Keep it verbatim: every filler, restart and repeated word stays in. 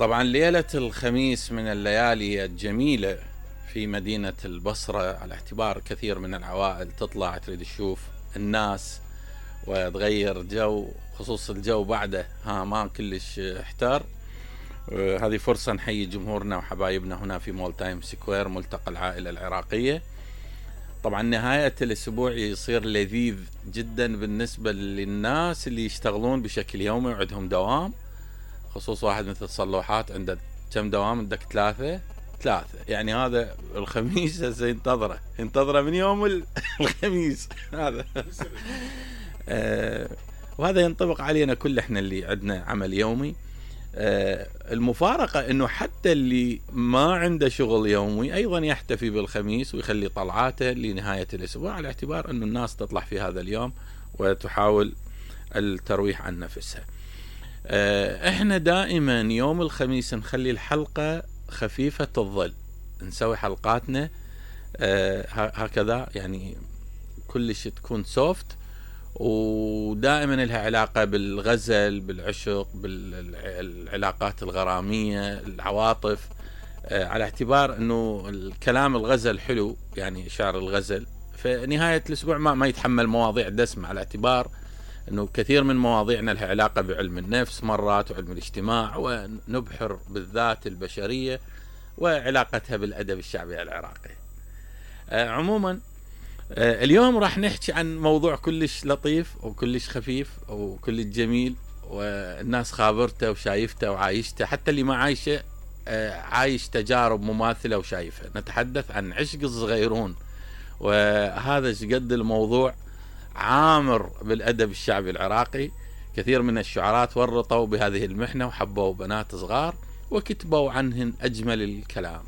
طبعا ليلة الخميس من الليالي الجميلة في مدينة البصرة، على اعتبار كثير من العوائل تطلع تريد تشوف الناس وتغير جو، خصوص الجو بعده ها ما كلش احتار. هذه فرصة نحيي جمهورنا وحبايبنا هنا في مول تايم سكوير، ملتقى العائلة العراقية. طبعا نهاية الأسبوع يصير لذيذ جدا بالنسبة للناس اللي يشتغلون بشكل يومي وعندهم دوام، خصوص واحد مثل صلوحات عنده كم دوام؟ عندك ثلاثة ثلاثة يعني هذا الخميس هسه ينتظره ينتظره من يوم الخميس هذا آه وهذا ينطبق علينا كل احنا اللي عندنا عمل يومي. آه المفارقة انه حتى اللي ما عنده شغل يومي ايضا يحتفي بالخميس ويخلي طلعاته لنهاية الاسبوع، على اعتبار انه الناس تطلع في هذا اليوم وتحاول الترويح عن نفسها. احنا دائما يوم الخميس نخلي الحلقة خفيفة الظل، نسوي حلقاتنا هكذا يعني كلش تكون سوفت، ودائما لها علاقة بالغزل، بالعشق، بالعلاقات الغرامية، العواطف، على اعتبار انه الكلام الغزل حلو، يعني شعر الغزل. فنهاية الاسبوع ما, ما يتحمل مواضيع دسمة، على اعتبار انه كثير من مواضيعنا لها علاقة بعلم النفس مرات وعلم الاجتماع، ونبحر بالذات البشرية وعلاقتها بالادب الشعبي العراقي. آه عموما آه اليوم راح نحكي عن موضوع كلش لطيف وكلش خفيف وكلش جميل، والناس خابرته وشايفته وعايشته، حتى اللي ما عايشه آه عايش تجارب مماثلة وشايفها. نتحدث عن عشق الصغيرون، وهذا قد الموضوع عامر بالأدب الشعبي العراقي. كثير من الشعراء تورطوا بهذه المحنة وحبوا بنات صغار وكتبوا عنهن أجمل الكلام.